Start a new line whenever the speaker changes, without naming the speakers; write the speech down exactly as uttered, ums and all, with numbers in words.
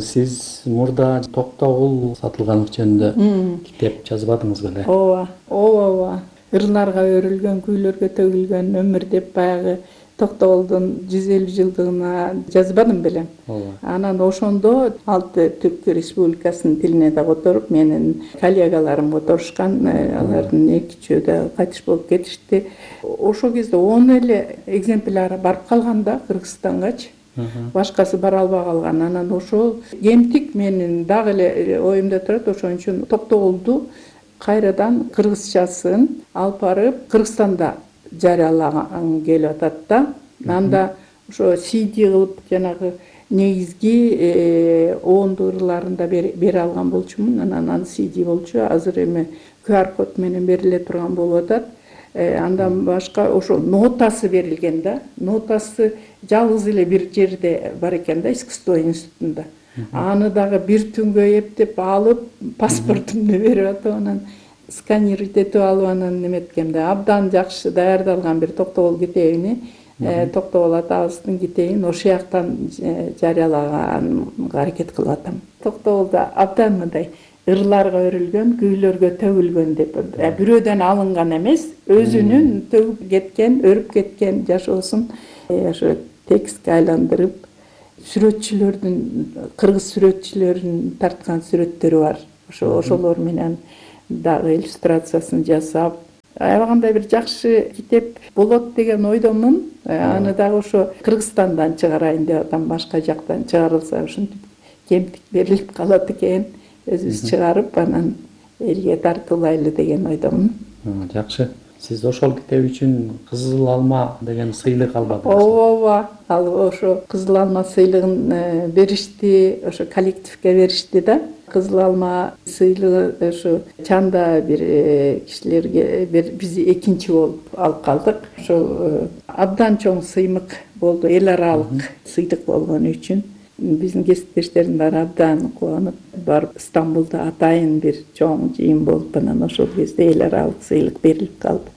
Сиз мурда Токтогул Сатылганов жөнүндө китеп жазбадыңыз беле?
Ооба, ооба, ооба. Ырларга өрүлгөн, күүлөргө төгүлгөн өмүр деп баягы Токтогулдун жүз элүү жылдыгына жазбадым белем. Анан ошондо Алты Түрк Республикасынын тилине да которуп, менин коллегаларым которушкан, алардын эки үчөө да кайтыш болуп кетишти. Ошол кезде он эле экземпляр барып калган да Кыргызстангачы. Башкасы бара албай калган. Анан ошол кемтик менин дагы эле оюмда турат. Ошон үчүн Токтогулду кайрадан кыргызчасын алып барып Кыргызстанда жарыялаган келип атат да. Анда ошо си ди кылып жанагы негизги оонду ырларын да бере алган болчумун. Анан аны си ди болчу. Азыр эми ку ар код менен бериле турган болуп атат. Андан башка ошо нотасы берилген да. Нотасы жалгыз эле бир жерде бар экен да, искусство институтунда. Аны дагы бир түнгө эптеп алып, паспортумду берип атып, анан сканировать этип алып, анан неметкем да. Абдан жакшы даярдалган бир Токтогул китебини, Токтогул атабыздын китебин ошол жактан жарыялаганга аракет кылып атам. Токтогулда абдан мындай ырларга өрүлгөн, күүлөргө төгүлгөн деп, бирөөдөн алынган эмес, өзүнүн төгүп кеткен, өрүп кеткен жашоосун ошо текстке айландырып, сүрөтчүлөрдүн, кыргыз сүрөтчүлөрүнүн тарткан сүрөттөрү бар. Ошо ошолор менен дагы иллюстрациясын жасап, аябай кандай бир жакшы китеп болот деген ойдомун. Аны дагы ошо Кыргызстандан чыгарайын деп атам, башка жактан чыгарылса ушинтип кемтик берилип калат экен. Өзүбүз чыгарып, анан элге тартуулайлы деген ойдомун.
Жакшы. Сиз ошол китеп үчүн Кызыл Алма деген сыйлык албадыңызбы?
Ооба, ал ошо Кызыл Алма сыйлыгын беришти, ошо коллективге беришти да. Кызыл Алма сыйлыгы ошо Чанда бир кишилерге биз экинчи болуп алып калдык. Ошол абдан чоң сыймык болду, эл аралык сыйлык болгон үчүн. Биздин кесиптештердин баары абдан кубанып, барып Стамбулда атайын бир чоң жыйын болуп, анан ошол кезде эл аралык сыйлык берилип калды.